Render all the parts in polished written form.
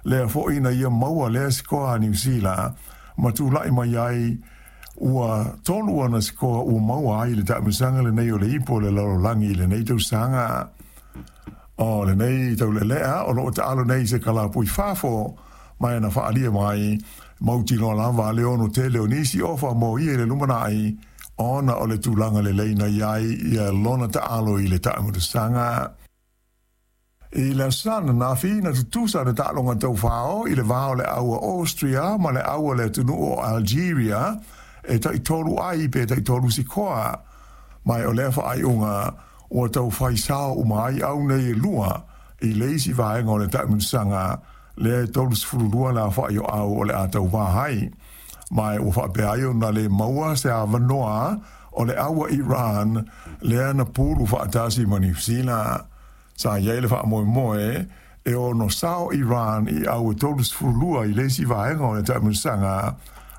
Lea foʻi na ia maua lea sikoa a Niu Sila ma tulaʻi mai ai ua tolu ana sikoa ua maua ai i le taamilosaga lenei o le Ipu o le Lalolagi i lenei tausaga. O lenei taulealea o loo taalo nei i se kalapu i fafo, ma e na faaalia mai mautinoa lava le ono tele o nisi ofa mo ia i le lumanai ona o le tulaga lelei na i ai ia lona taalo i le taamilosaga. I le aso Sa ananafi, na tutusa le taaloga taufao i le va o le aua Austria ma le aua le atunuu o Algeria e taitolu ai pe taitolu sikoa. Ma o lea faaiuga ua tau fai sao uma ai au nei e lua i le isi vaega o le taamilosaga lea e 32 le aofai o au o le a tauvā ai. Ma ua faapea ai ona le maua se avanoa o le aua Iran lea na pulu faatasi ma Niu Sila. Sa i ai le faamoemoe e ono sao Iran i au e 32 i le isi vaega o le taamilosaga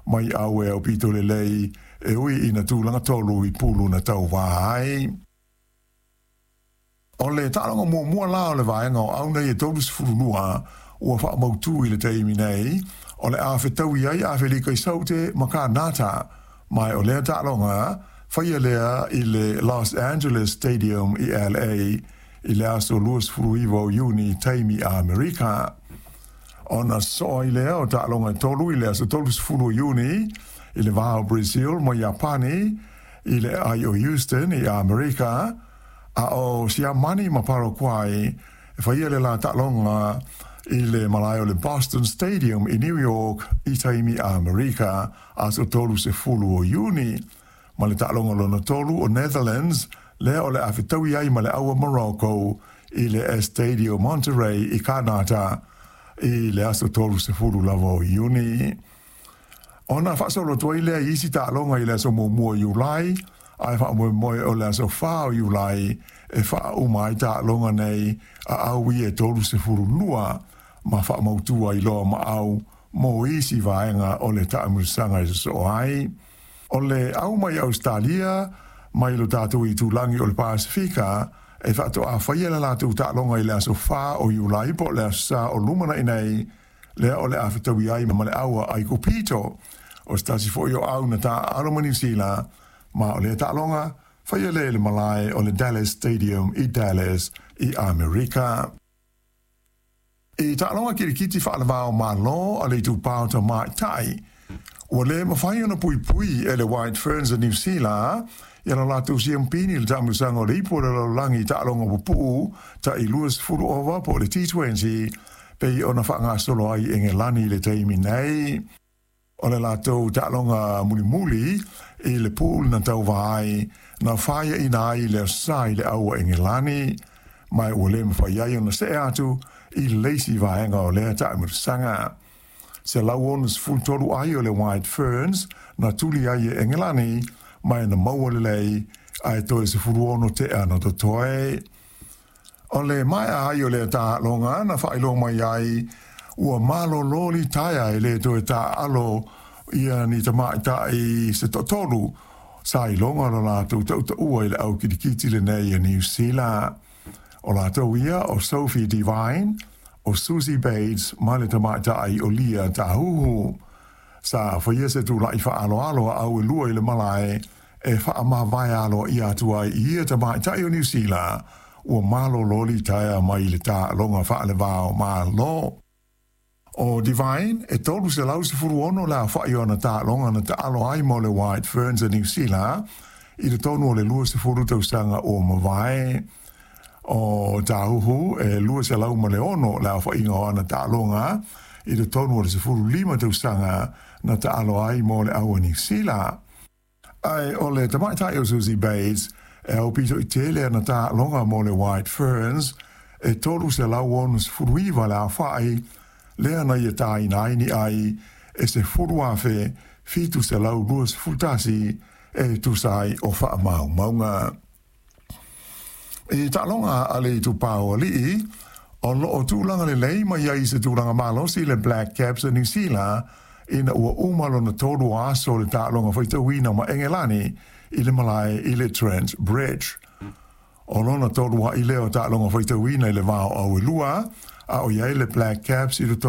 mai au e aupito lelei e ui ina tulaga tolu i pulu na tauvā ai. O le taaloga muamua la o le vaega o au nei e 32 ua faamautū i le taimi nei, o le a fetaui ai Afelika i Saute ma Kanata, ma o lea taaloga faia lea i le Los Angeles Stadium i LA i le aso 29 o Iuni taimi Amerika. Ona sosoo ai lea o taaloga e tolu i le aso 30 o Iuni i le va o Brazil ma Iapani i le aai o Houston i Amerika, a o Siamani ma Paraguay e faia le la taaloga i le malae o le Boston Stadium i New York i taimi Amerika aso 30 o Iuni, ma le taaloga lona tolu o Netherlands lea o le a fetaui ai ma le aua Morocco i le Estadio Monterrey i Kanata i le aso 30 lava o Iuni. Ona faasolo atu ai lea i isi taaloga i le aso 1 o Iulai, ae faamoemoe o le aso 4 o Iulai e faauma ai taaloga nei a au ia e 32 ma faamautu ai loa ma au mo isi vaega o le taamilosaga e sosoo ai. O le au mai Ausetalia mai lo tatou itulagi o le Pasefika e faatoa faia le latou taaloga i le aso 4 o Iulai po o le aso Sa o lumanai nei, lea o le a fetaui ai ma le aua Aikupito, o se tasi foi o au na taaalo ma Niu Sila, ma o lea taaloga faia lea i le malae o le Dallas Stadium i Dallas i Amerika. I taaloga kilikiti faaleva o Malo a le Itupa o Tamaitai, ua le mafai ona puipui e le White Ferns a Niu Sila ia lo latou siampini i le taamilosaga o le Ipu o le Lalolagi i taaloga pupuu tai 20 ova po o le T20 pei ona faagasolo ai i Engelani i le taimi nei. O le latou taaloga mulimuli i le pool na tauvā ai, na faiaina ai i le Aso Sa i le aua Engelani, ma ua le mafai ai ona see atu i le isi vaega o lea taamilosaga. 163 ai o le White Ferns na tuli ai e Engelani, ma e na maua lelei, ae toe 16 tea na totoe. O le maea ai o lea taaloga na faailoa mai ai ua malolo litaea e le toe taaalo ia ni tamaitai se toatolu sa iloga lo latou tautaua i le au kilikiti lenei a Niu Sila. O latou ia o Sophie Devine, o Suzie Bates ma le tamaitai o Lia Tahuhu. Sa faia se tulaʻi faaaloalo a au e lua i le malae e faamavae aloaia atu ai i ia tamaitai o Niu Sila ua malolo litaea mai le taaloga faaleva o Malo. O Devine e 316 le aofaʻi o ana taaloga na taalo ai mo le White Ferns a Niu Sila i totonu o le 20 tausaga ua mavae. O Tahuhu e 206 le aofaiga o ana taaloga i totonu o le 15 tausaga na taalo ai mo le au a Niu Sila. Ae o le tamaitai o Suzie Bates e aupito i tele ana taaloga mo le White Ferns e 369 le aofaʻi lea na ia tāina ai ni ai e 10,721 e tusa ai o faamaumauga. I taaloga a le Itupa o Alii, o loo tulaga lelei mai ai se tulaga malosi le Black Caps a Niu Sila ina ua uma lona tolu o aso o le taaloga faitauina ma Engelani i le malae i le Trent Bridge. O lona tolu ai lea o taaloga faitauina i le va o au e lua, a o i ai le Black Caps i le